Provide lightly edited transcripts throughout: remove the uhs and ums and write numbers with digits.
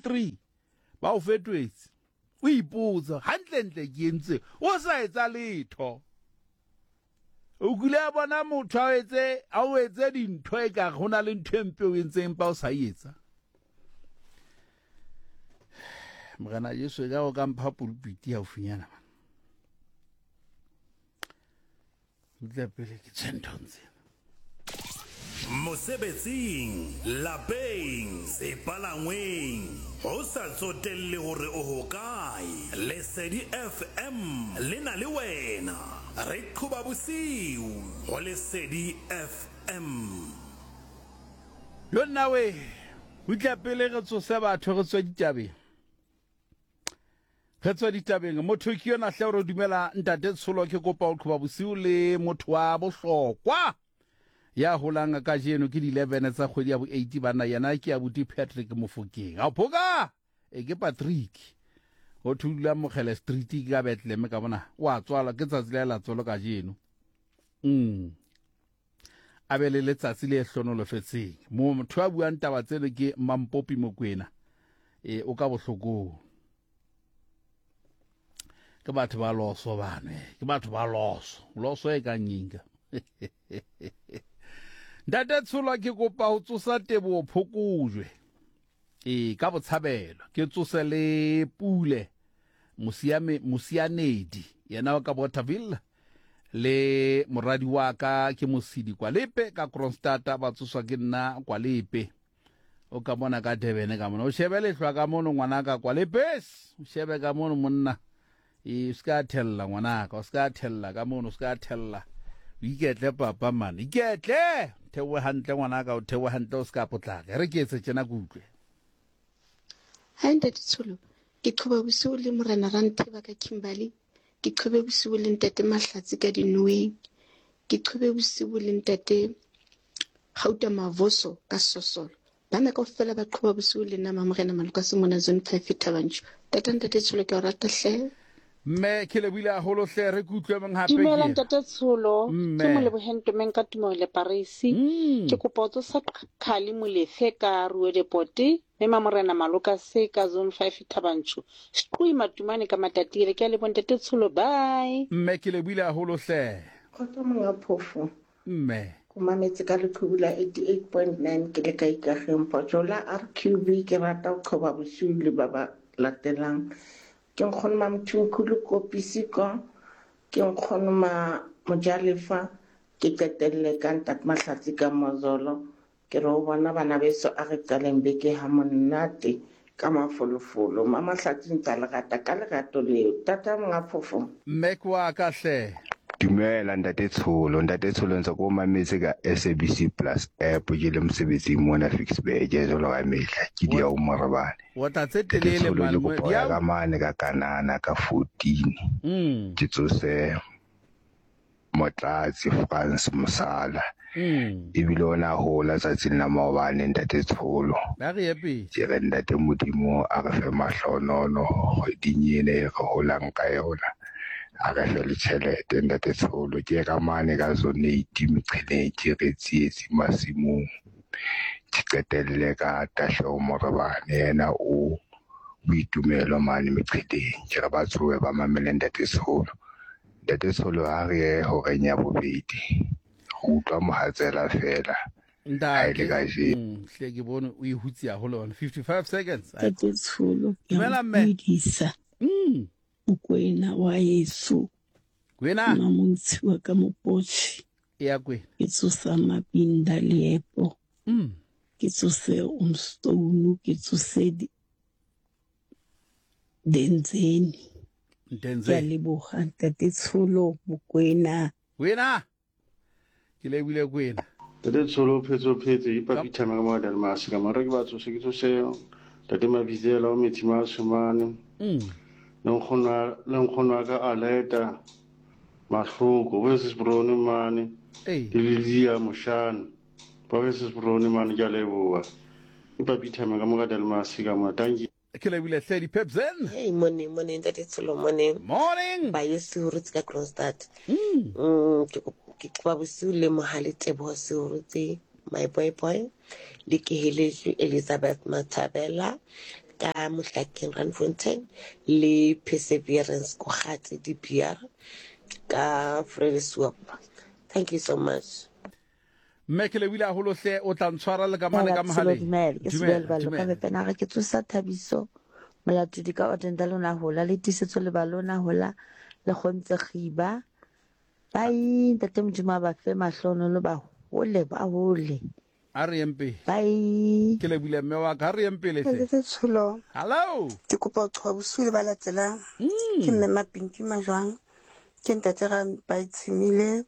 3 ba o fetoetse. O ipotsa hantlentle ke entse o sa etsa letho. O kile a bona motho a etse a o etse dintho e ka go na le ntho e mpe o entseng empa o sa e etsa. Morena Jesu e ka o ka mpha pulpiti haufinyana man. Utlwa pele ke tswe nthong tsena. Mosebetsing, lapeng, sepalangweng, ho sa tsotelle hore o hokae, Lesedi FM le na le wena. Re qhoba bosiu ho Lesedi FM. Yo nna we, utlwa pele re tsose batho re tswe ditabeng. Re tswe ditabeng. Motho ke yona hle re dumela ntate Tsholo ke kopa ho qhoba bosiu le motho wa bohlokwa ya holang kajeno ke di-11 tsa kgwedi ya bo-8 banna yena ke abuti Patrick Mofokeng. Ao phoka! E ke Patrick. O thula Mokgele Street ke ka Bethlehem ka bona. Wa tswalwa ke tsatsi la la tswalo kajeno. Mm. A be le letsatsi le hlonolofetseng. Motho a buang taba tseno ke Mampopi Mokwena. E o ka bohlokong. Ke batho ba loso bane, ke batho ba loso. Loso e kang eng ka? Ntate Tsholo ke kopa ho tsosa teboho phokojwe. E ka botshabelo ke tsose le pule Mosiame Mosianedi yena wa ka Bothaville le moradi wa ka ke Mosidi Kwalepe ka Kroonstad ba tsoswa ke nna Kwalepe o ka mona ka Durban ka mona o shebe lehlwa ka mono ngwanaka Kwalepes o shebe ka mono monna e o se ka thella ngwanaka o se ka thella ka mono o se ka thella o iketle papa man iketle theohe hantle ngwanaka o theohe hantle o se ka potlaka e re ke etse tjena ke utlwe Hi Ntate Tsholo, ke qhoba bosiu le Morena Rantheba ka Kimberley, ke qhobe bosiu le Ntate Mahlatsi ka Dinoeng, ke qhobe bosiu le Ntate Gauta Mavoso ka Sosolo. Bana kaofela ba qhoba bosiu le nna Mamorena Malokase mona Zone 5 Thabanchu. Tata Ntate Tsholo ke o rata hle. Mme ke lebohile haholo hle re ke utlwe mong hape Dumela Ntate Tsholo, ke Moleboheng Ntomeng ka Tumelo le Parisi. Ke kopa ho tsosa Qhali Molefe ka Ruedepote, mme Mamorena Malokase ka Zone 5 Thabanchu. Squi Matumane ka Matatiele. Ke a leboha Ntate Tsholo, bye. Mme ke lebohile haholo hle. Kgotso monga phofo. Mme. Ko mametse ka leqhubu la 88.9 ke le ka Ikageng Pojola RQB ke rata ho qhoba bosiu le ba ba latelang. Ke nkgono ma Mthimkhulu Kopisi ko, ke nkgono ma Mojalefa, ke qetelle ka Ntate Mahlatsi ka Mozolo. Ke re ho bona bana beso a re qaleng beke ha monate ka mafolofolo. Mamahlatsi ntsa le rata ka lerato leo. Tata monga phofo. Mme ke wa ka hle. Dumela ntate Tsholo, ntate Tsholo ntse ko mametse ka SABC Plus app ke le mosebetsing mona Ficksburg jwalo ka mehla ke dia o morebane. Wa tla tse Ntate telele Tsholo man. ke kopa ho ya ka mane ka Kanana ka 14 ke tsose Motlatsi Frans Mosala ebile o ne a hola tsatsing la maobane ntate Tsholo. Ba re ye pele. Ke re ntate Modimo a re fe mahlohonono kgweding ena e re holang ka yona. A re fe le tjhelete ntate Tsholo. Ke ka mane ka zone eight meqheleng ke re tsietsi masimong. Ke qetelle ka Tahleho Morebane yena o boitumelo mane meqheleng. Ke re ba tsohe ba mamele ntate Tsholo. Ntate Tsholo ha re ye horeng ya bobedi. Re utlwa mohatsela feela ha e le Ntate, kajeno. hle ke bone o e hutse haholo bana. 55 seconds. Ai. Ntate Tsholo, ke a Dumela o mme. dumedisa. Mokwena wa heso. Kwena. Mmamontshi wa ka Mopotjhe. Eya Kwena. Ke tsosa Mabinda Leepo. Ke tsose Umstone, ke tsose Denzeni. Ntenze. Ke a leboga Ntate Tsholo Mokwena. Kwena. Ke lebile Kwena. Ntate Tsholo o phetse o phetse ipa Peter ka mo Delmas ka mara ke ba tsose ke tsose Ntate Mabizela o metsi ma shomane. Le nkgono le nkgono wa ka Aleta Mahloko bo se Brone mane. Le Lilia Moshane. Ba be se Brone mane ke a leboha. Ipa Peter ka mo ka Delmas ka mo. Thank you. Ke lebile hle di-pepsen. Hey, morning, morning, Ntate Tsholo, morning. Morning. Ba ye Sehurutse ka Kroonstad. Ke ke qoba bosiu le Mohale Teboho Sehurutse, my boy boy, le Keheletswe Elizabeth Mathabela, ka Mohlakeng Randfontein le Perseverance Kogatse DPR ka Vredeswap. Thank you so much. Mme ke lebile haholo hle o tla ntshwara le ka mane ka mohaleng. Dumela, ke Sebele Ballo ka Mepena re ke tsosa Thabiso Molatodi ka Odenda lona hola le Tiisetso le balona hola le kgontse kgiba. Bye ntate Modimo a ba fe mahlonolo ba hole ba hole. A re yeng pele. Bye. Ke lebile mme wa ka, a re yeng pele hle. Ntate Tsholo. Hello. Ke kopa ho qhoba bosiu le ba latelang. Ke mme Mapinki Majwang. Ke ntate Rampaitshemile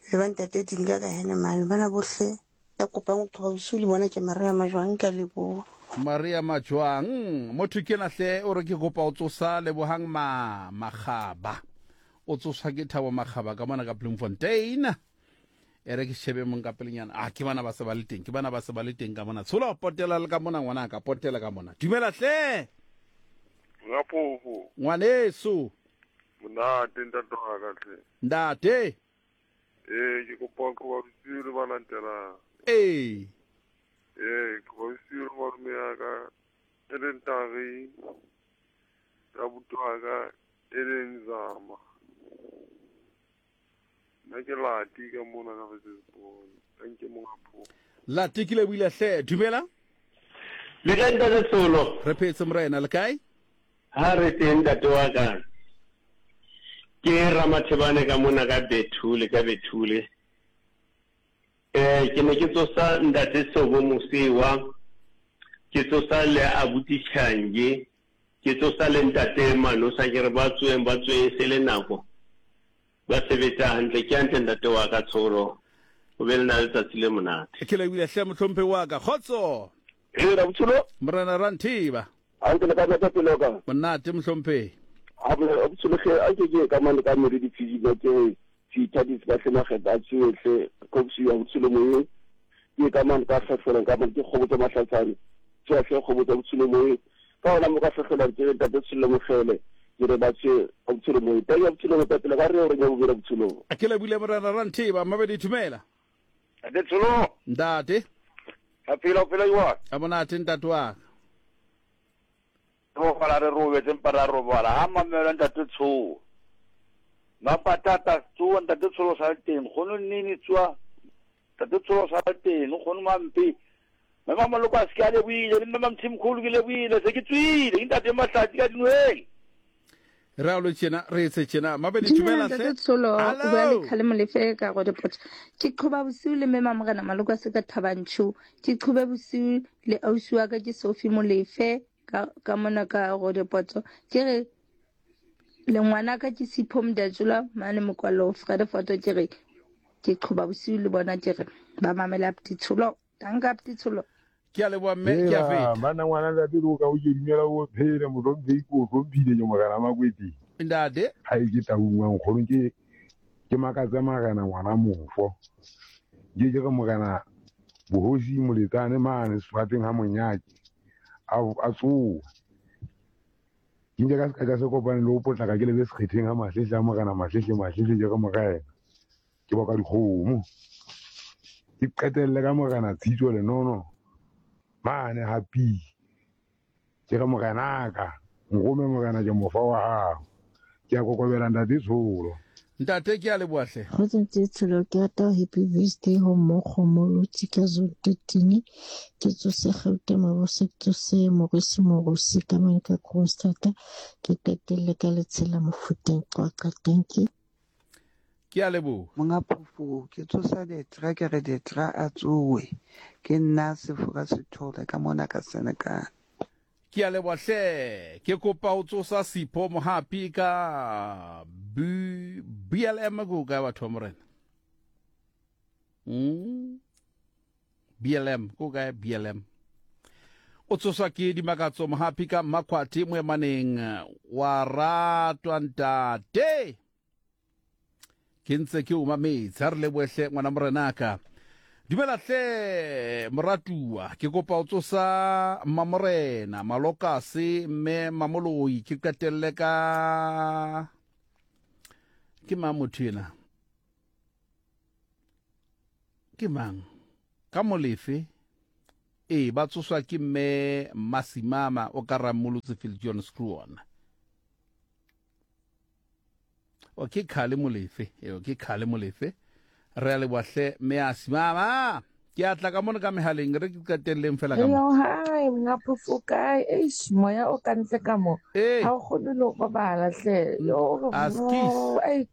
le ba ntate Dinga ka Henemane. Bana bohle ya kopang ho qhoba bosiu le bona ke Maria Majwang ka leboha. Maria Majwang. Motho ke na hle o re ke kopa ho tsosa Lebohang ma Makgaba. O tsoswa ke Thabo Makgaba ka mona ka Bloemfontein. E re ke shebe mong ka pelenyana. Ah, ke bana ba se ba le teng. Ke bana ba se ba le teng ka mona. Tshola potela le ka mona ngwana ka potela ka mona. Dumela hle. Ngapofo. Ngwaneso. Monate ntate wa ka hle. Ntate. Ee, ke kopa go ba bosiu le ba latelang. Ee. Ee, ke ba bosiu le malume ya ka e leng Tari, le abuti wa ka e leng Zama. Nna ke Lati ka mona ka Wesselsbron. Thank you monga pho. Lati ke lebohile hle. Dumela. Le kae ntate Tsholo? Re phetse morena, le kae? Ha re teng ntate wa ka. Ke Ramathebane ka mona ka Bethule ka Bethule. Eh ke ne ke tsosa ntate Sobo Mosewa, ke tsosa le abuti Change, ke tsosa le ntate Manosa ke re ba tsoeng ba tsoeng se le nako. Ba sebetsa hantle. Ke hantle ntate wa ka Tsholo. O be le na letsatsi le monate. Ke lebohile hle mohlomphehi wa ka. Kgotso. Ee, Rabotsholo. Morena Ranthiba. Hantle le ka nata pele ka. Monate mohlomphehi. A Rabotsholo hle a ke ke ka mane ka mere difizima ke re seithatisi ka hle makgetha a tsoe hle kopsi ya botshelo moyeng. Ke ka mane ka hlahlolang ka mane ke kgobotsa mahlatshane. Tsoa hle kgobotsa botshelo moyeng. Ka gona mo ka hlahlolang ke re ntate Tshollo Mokgele ke re ba tswe ka botshelo moyeng. Teng ya botshelo motapele ga re o re nya bobedi botshelong. Ke lebile morena Ranthiba Mabedi Thumela. Ntate Tsholo. Ntate. A phela o phela jwang? A monate ntate wa ka. Robala re robetse mpa ra robala ha mamela ntate Tsholo. Mapatata tsoa ntate Tsholo sa le teng kgono nnene tsoa ntate Tsholo sa le teng kgono mampe. Mme Mamoloko a se ke a lebohile le mme Mamthimkhulu ke lebohile se ke tswile ke ntate Mahlatsi ka dinweng. Re a lo tjena re etse tjena Mabedi Dumela dumela ntate hle. Tsholo, o bua le Hello. Khale Molefe ka Roodepoort. Ke qhoba bosiu le mme Mamorena Maloko a se ka Thabanchu. Ke qhobe bosiu le ausi wa ka ke Sophie Molefe ka ka mona ka Roodepoort. Ke re le ngwana ka ke Sipho Mdatjola mane Mokwallo Vredefort ke re ke qhoba bosiu le bona ke re ba mamela Apti Tsholo. Danke Apti Tsholo. Ke a leboha mme ke a Hela feta. banna ngwana ntate o ka o ke dumela o phele mohlomphei ko o hlomphile ke morena Makweteng. Ntate. Ha e ke taung wa nkgono ke ke makatse marena ngwana mofo. Ke ke re morena bohosi moletsane mane sefateng ha monyake a a tsoa. Ke nke ka se ka se kopane le ho potlaka ke lebe sekgetheng ha mahlehle a morena mahlehle mahlehle ke re morena ke boka dikgomo. Ke qetelle ka morena Tshitso Lenono mane hapi. Ke re morenaka nrome morena ke mofa wa hao. Ke a kokobela ntate Tsholo. Ntate ke a leboha hle. Kgotso ntate Tsholo ke rata ho happy birthday ho Mokgo Molotsi ka zone 13 ke tsose Gauta Mabose ke tsose Morisi Morusi ka mane ka Kroonstad ke qetelle ka Letshela Mofuteng Qwaqwa thank you. Ke a leboha. Monga phofo ke tsosa detra ke re detra a tsowe ke nna Sefora Sethole ka mona ka Senekal. Ke a leboha hle. Ke kopa ho tsosa Sipho Mohapi ka B BLM ke hokae batho ba morena? BLM ke hokae BLM? O tsoswa ke Dimakatso Mohapi ka Mmakhwathe Moemaneng wa ratwa ntate. Ke ntse ke o mametse. Ha re lebohe hle ngwana morenaka. Dumela hle moratuwa. Ke kopa o tsosa Mmamorena Malokase mme Mamoloi ke qetelle ka ke mang motho ena? Ke mang? Ka Molefe. Ee, ba tsoswa ke mme Mmasimama o ka Rammolotse Viljoen Skruon. O ke Khale Molefe, eo ke Khale Molefe. Re a leboha hle mme a Simama. Ke a tla ka mono ka mehaleng re ke qetelleng fela ka mo. Hello, hi, monga phofo o kae? Eish, moya o ka ntle ka mo. Ee. Ha o kgone le ho robala hle. Yo, Askies. ei,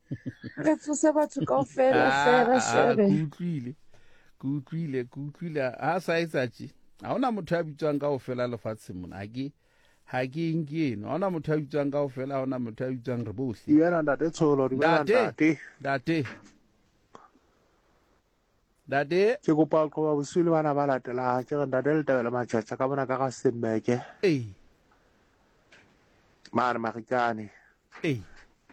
re tsose batho kaofela hle, Ah, re ah, shebe. ke utlwile. Ke utlwile, ke utlwile. Ha sa etsa tje. Ha hona motho ya bitswang kaofela lefatsheng mona. Ha ke ha ke nke eno. Ha hona motho ya bitswang kaofela, ha hona motho ya bitswang re bohle. Dumela ntate Tsholo, dumela Ntate, ntate. ntate. Ntate. Ke kopa ho qoba bosiu le bana ba latelang. Ke re ntate Letebele Matjhatjha ka mona ka Rustenburg. Ee. Mane Marikane. Ee.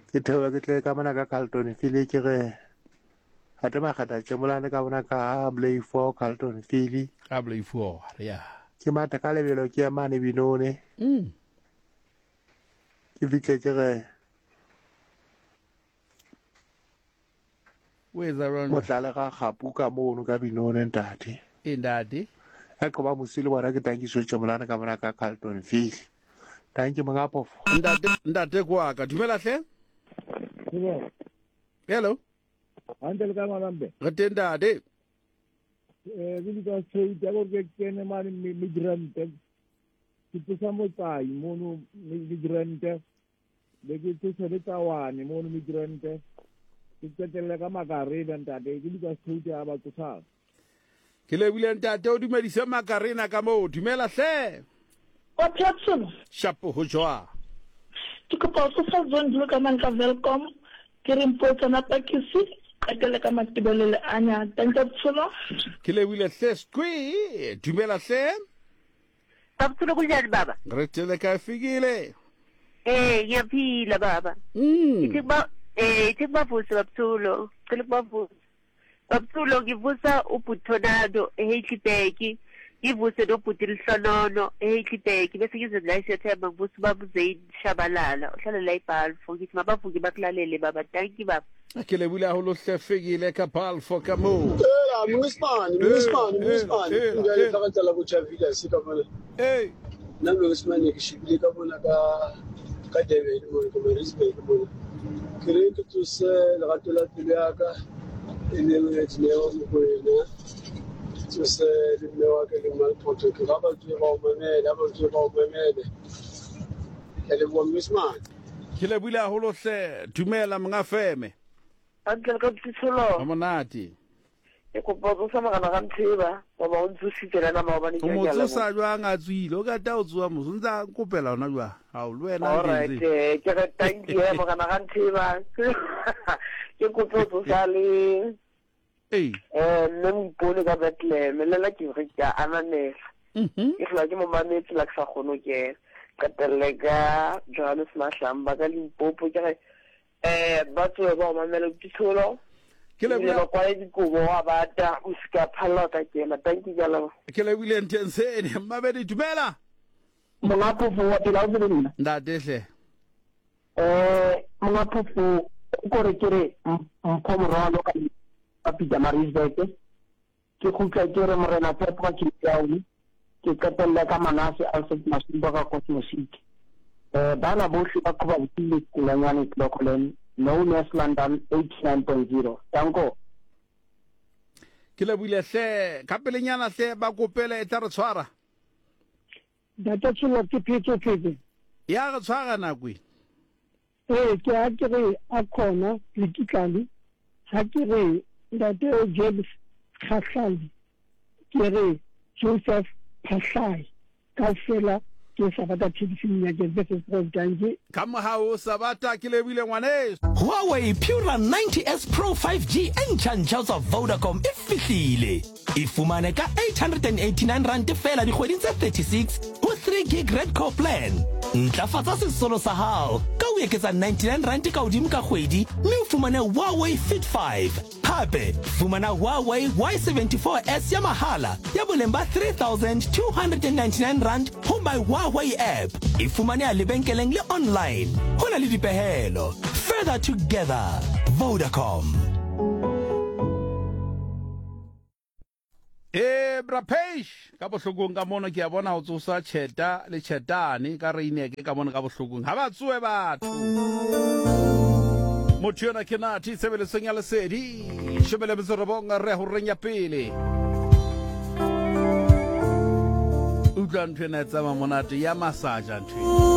Ke theohe ke tle ka mona ka Carlton Philly ke re Ate Makgetha Tšemolane ka mona ka Blay 4 Carlton Philly. Ka Blay 4, ya. Ke matha ka lebelo ke ya mane Binone. Ke fihle ke re O etsa jwang? Motlale ga gapu ka mono ka Binone ntate. Ee ntate. A qoba mosi le bona ke tankiso Tšemolane ka mona ka Carlton Philly. Tanki monga phofo. Ntate ntate kwa ka dumela hle. Hello. Hantle le ka malambe. Re teng ntate. Eh ke bitsa straight ya gore ke kene mane migrant. Ke tsosa motsai mono migrant. Be ke tsosa le tawane mono migrant. Ke qetelle ka makarena ntate ke bitsa straight ya ba tsosang. Ke lebile ntate o dumedise makarena ka moo. Dumela hle. Wa Platson. Shapo ho jwa. Ke kopa ho tsosa Zondlo ka mang ka Welkom. Ke re mpotsana pakisi qetelle ka Matebele le Anya. Thank you Tsholo. Ke lebile hle Squi. Dumela hle. Baba Tsholo kunjani baba? Re tele ka fikile. Eh ngiyaphila baba. Ithi ba eh ithi kubavuse baba Tsholo. Cela kubavuse. Baba Tsholo ngivusa uBhuti eHeidelberg. Ngivuse noBhuti Lihlonono eHeidelberg bese ngize la eSethemba ngivuse ubaba uZain Shabalala ohlala la eBalfour ngithi mabavuke bakulalele baba. Thank you baba. Ke lebile haholo hle fikile ka Balfour ka moo. Ela Mongismane, Mongismane, Mongismane. Nka le tla tsala botjha villa se ka mona. Ee. Nna Mongismane ke shebile ka mona ka ka Durban mona ka Maritzburg mona. Ke re ke tsose lerato la pelo ya ka e leng Dineo Mokoena. Ke tsose le mme wa ka le Malphoto ke ga ba tswe ba o mamele, ha ba tswe ba o mamele. Ke a leboha Mongismane. Ke lebile haholo hle. Dumela monga feme. Hantle le ka Tsholo. Ha monate. Ke kopa ho tsosa morena ga Ntheba, goba o ntsositse le nna maobane O ke mo a leboha. tsosa jwang a tswile? O ka ta o tsoha mos, o ntsa nkopela hona jwang? Hao, le wena All right, nkentse. eh, ke re thank you, eh, morena ga Ntheba. Ke kope ho tsosa le Ee. eh, mme Moipone ka Bethlehem, le nna ke re ke a ananela. Ke hlola ke mo mametse la ke sa kgone ho kena. Qetelle ka Johannes Mahlamba ka Limpopo, ke re eh ba tsohe ba o mamela Tsholo. Ke Ebile leboha ba kwale dikobo wa bata o se ka phalla o ka kena. Thank you, ke a leboha. Ke lebohile Ntensene. Mmabedi dumela. Monga phofo wa pela o tsebe nna. Ntate hle. Eh monga phofo o kore ke re mpho morwalo ka ka Pietermaritzburg. Ke kgutla ke re morena Tshepo ka Cape Town. Ke qetelle ka Manase Alfred Masumba ka Cosmo City. Eh bana bohle ba qhoba bosiu le Kulanyane Clocolan known as London 89.0. Danko. Ke lebohile hle ka pelenyana hle ba kopele e tla re tshwara. Ntate Tsholo ke phetse phetse. Ya re tshwara nako e. Ee, ke ha ke re a khona le kitlane, ha ke re ntate James Kgahlane, ke re Joseph Phahlai, kaofela ke Sabata Thekising ya ke versus Prof Danke. Ka mohau Sabata ke lebile ngwaneso. Huawei Pura 90S Pro 5G e ntšha-ntšha ho tswa Vodacom e fihlile. E fumane ka R889 feela dikgweding tse 36 ho 3 gig Redco plan. Ntlafatsa sesolo sa hao ka ho eketsa R99 ka hodimo ka kgwedi mme o fumane Huawei Fit 5. Hape, fumana Huawei Y74S ya mahala ya boleng ba R3,299 ho My Huawei app. E fumaneha lebenkeleng le online. Ho na le dipehelo. Further together. Vodacom. E Bra Page ka bohlokong ka mono ke a bona o tsosa Cheta le Chetane ka Reineke ka mono ka bohlokong. Ha ba tsoe batho. Motho yona ke Nathi tshebeletsong ya Lesedi. 19 re horeng ya pele. Utlwa ntho ena e tsamaya monate ya massage ntho ena.